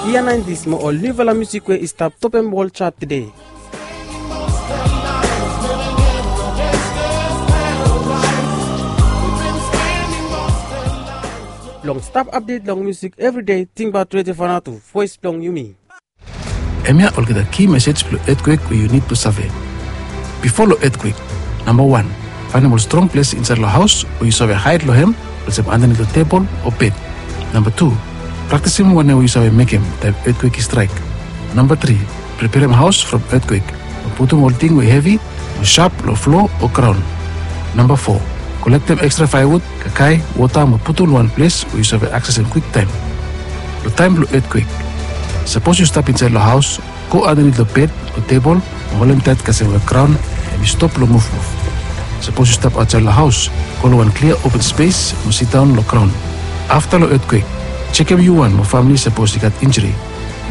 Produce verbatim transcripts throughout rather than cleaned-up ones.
Ia naintis mo ol niufala musik we i stap topem wol chat tede. Blong stap apdet long musik evride, tingbaot Redio Vanuatu, voes blong yumi. Hemia olgeta ki mesej blong etkwek we yu nid blong save. Bifo long etkwek, namba wan, faenem ol strong ples insaed long haos we yu save haed long hem, olsem andanit long tebol o bed. Namba tu, praktisim wanem we yu save mekem taem etkwek i straek. Namba tri, preperem haos from etkwek, mo putum ol ting we hevi o sap long flo o graon. Namba fo, kolektem ekstra faevud, kakae, wota mo putum long wan ples we yu save aksesem kwiktaem. Long taem blong etkwek, sapos yu stap insaed long haos, go andanit long bed o tebol mo holem taet kasem we graon hemi stop long muvmuv. Sapos yu stap aotsaed long haos, go long wan klia open spes mo sidaon long graon. Afta long etkwek, jekem yu wan mo famle sapos i gat injuri.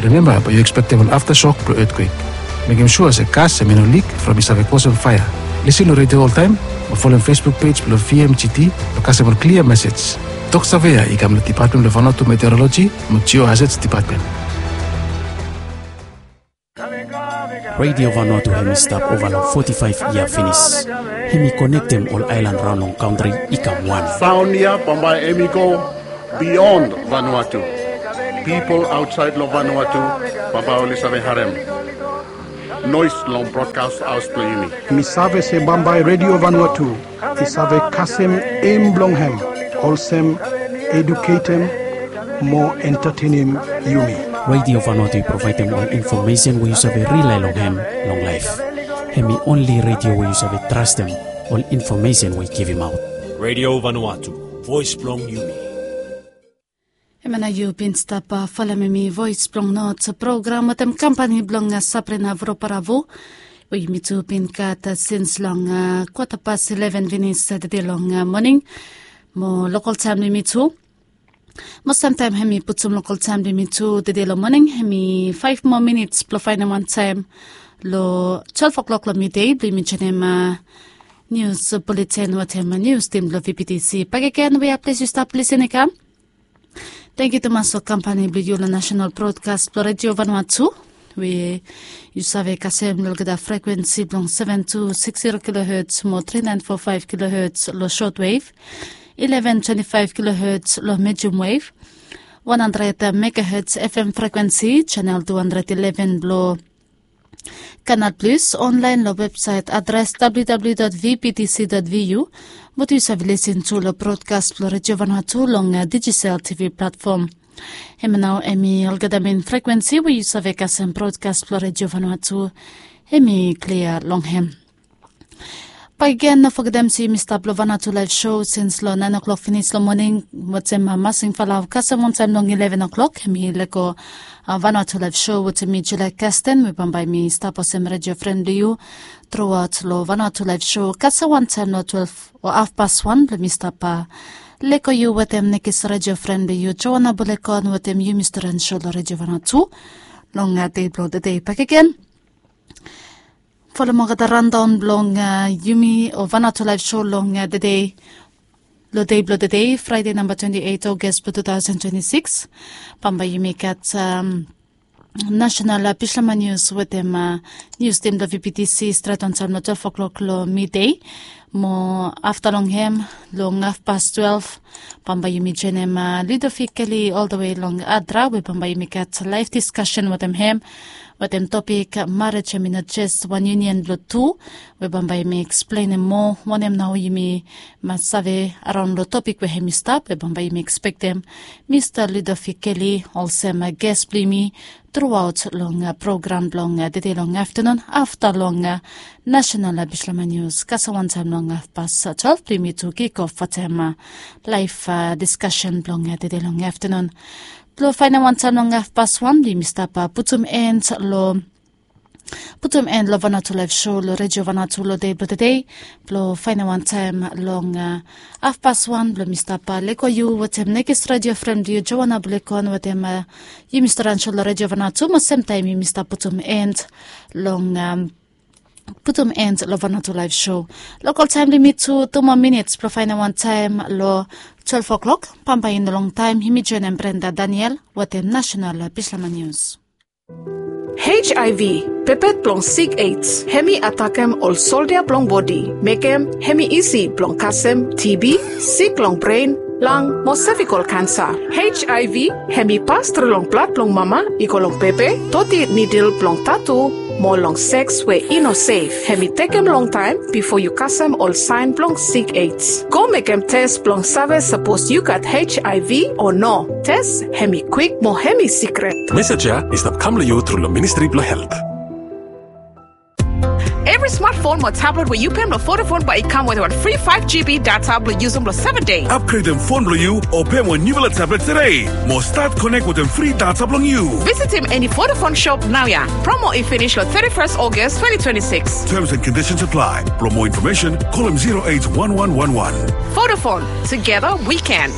Rimemba bae yu ekspektem ol aftasok blong etkwek. Mekem sua se gas hemi no lik from i save kosem faea. Lisin long redio oltaem mo folem Facebook pej blong V M G T blong kasem ol klia mesej. Toksave ya i kam long Depatmen blong Vanuatu Meteoroloji mo Geohazards Depatmen. Redio Vanuatu hemi stap ova long foti faef yia finis. Hemi konektem ol aelan raon long kantri i kam wan. Saon ya bambae hemi go bion Vanuatu. Pipol aotsaed long Vanuatu bambae oli save harem noes long brodkas haos blong yumi. Mi save se bambae Redio Vanuatu i save kasem em blong hem, olsem eduketem mo entatenem yumi. Redio Vanuatu i provaedem ol infomesen we yu save rilae long hem long laef. Hemi onli redio we yu save trastem ol infomesen we i givimaot. Redio Vanuatu, voes blong yumi. Hemia nao yu bin stap folem hemi Voes blong Not program wetem kampani blong Sabrina Voroparavo, we yumi tu bin gat sins long kwata pas ileven finis tede long moning. Mo lokol taem blong yumi tu, mo samtaem hemi putum lokol taem blong yumi tu tede long moning, hemi faef moa minits blong faenem wan taem long twelef oklok long midei blong yumi joenem nius buletin wetem nius tim blong V P T C bakegen, wea ples yu stap lisin i kam. Tangkiu tumas long kampani blong yu long nasenal brodkas blong Redio Vanuatu, we yu save kasem long olgeta frekwensi blong seven two six zero kilohertz mo three nine four five kilohertz long shortwave, eleven twenty-five kilohertz long medium wave, one hundred megahertz F M frekwensi, channel two hundred eleven blong Canal Plus, online long websaet adres W W W dot V P T C dot V U, mo yu save lisin tu long brodkas blong Redio Vanuatu long Digicel T V platfom. Hemia nao hemi olgeta mein frekwensi we yu save kasem brodkas blong Redio Vanuatu, hemi klia long hem. Bakegen, no fogetem se yumi stap long Vanuatu Laev Sho sins long naen oklok finis long moning, wetem Masing Falau kasem wantaem long ileven oklok, hemi lego Vanuatu Laev Sho wetem mi Julia Kasten, we bambae mi stap olsem redio fren blong yu truaot long Vanuatu Laev Sho kasem wantaem long twelef o hafpas wan blong mi stap lego yu wetem nekis redio fren blong yu Joana Bulekon wetem yu Mista Rensho long Redio Vanuatu long dei blong tede bakegen. Folem olgeta randaon blong yumi o Vanuatu Laev Sho long tede, long dei blong tede, Fraede namba twenti eit Aogas blong tu taosen twenti sikis. Bambae yumi gat nasenal Bislama nius wetem nius tim blong V P T C straet wantaem long twelef oklok long midei. Mo afta long hem, long hafpas twelef, bambae yumi joenem Ludovic Kelly oltawe long Adra, we bambae yumi gat laef diskasen wetem hem wetem topik Marej hemi no jes wan yunion blong tu, we bambae yumi eksplenem moa wanem nao yumi mas save araon long topik we hemi stap, we bambae yumi ekspektem Mista Ludovic Kelly olsem ges blong yumi truaot long program blong tede long aftanun, afta long nasenal Bislama nius kasem wantaem long hafpas twelef blong yumi tu kikof wetem laef diskasen blong tede long aftanun. Blong faenem wantaem long hafpas wan blong yumi stap putum en long putum en long Vanuatu Laev Sho long Redio Vanuatu long dei blong tede. Blong faenem wantaem long hafpas wan blong mi stap lego yu wetem nekis redio fren blong yu Joana Bulekon wetem yu Mista Rensho long Redio Vanuatu, mo semtaem yumi stap putum en long putum end long Vanuatu Live Show. Lokal taem limit tu tu moa minits blong faenem wan taem long twelve o'clock. Bambae i no longtaem yumi joenem Brenda Daniel wetem nasenal bislama nius. H I V, pepet blong sik AIDS, hemi atakem ol soldia blong bodi, mekem hemi isi blong kasem T B, sik long bren, lang mo sevikol kansa. H I V hemi pas tru long blad blong mama i go long pepe, doti nidil blong tatu, mo long seks we i no sef. Hemi tekem longtaem bifo yu kasem ol saen blong sik AIDS. Go mekem tes blong save sapos yu gat H I V o no. Tes hemi kwik mo hemi sikret. Mesej ya i stap kam long yu tru long Ministri blong Helt. Evri smartphone mo tablet we yu pem long Vodafone bae i kam wetem wan fri five G B data blong yusum long seven dei. Upgredem fon blong yu o pem wan niufala tablet tede mo stat konek wetem fri data blong yu. Visitim eni Vodafone shop naoia. Promo i finis long thirty-first August twenty twenty-six. Terms and conditions apply. For more information, call them zero eight one one one one. Vodafone, together we can.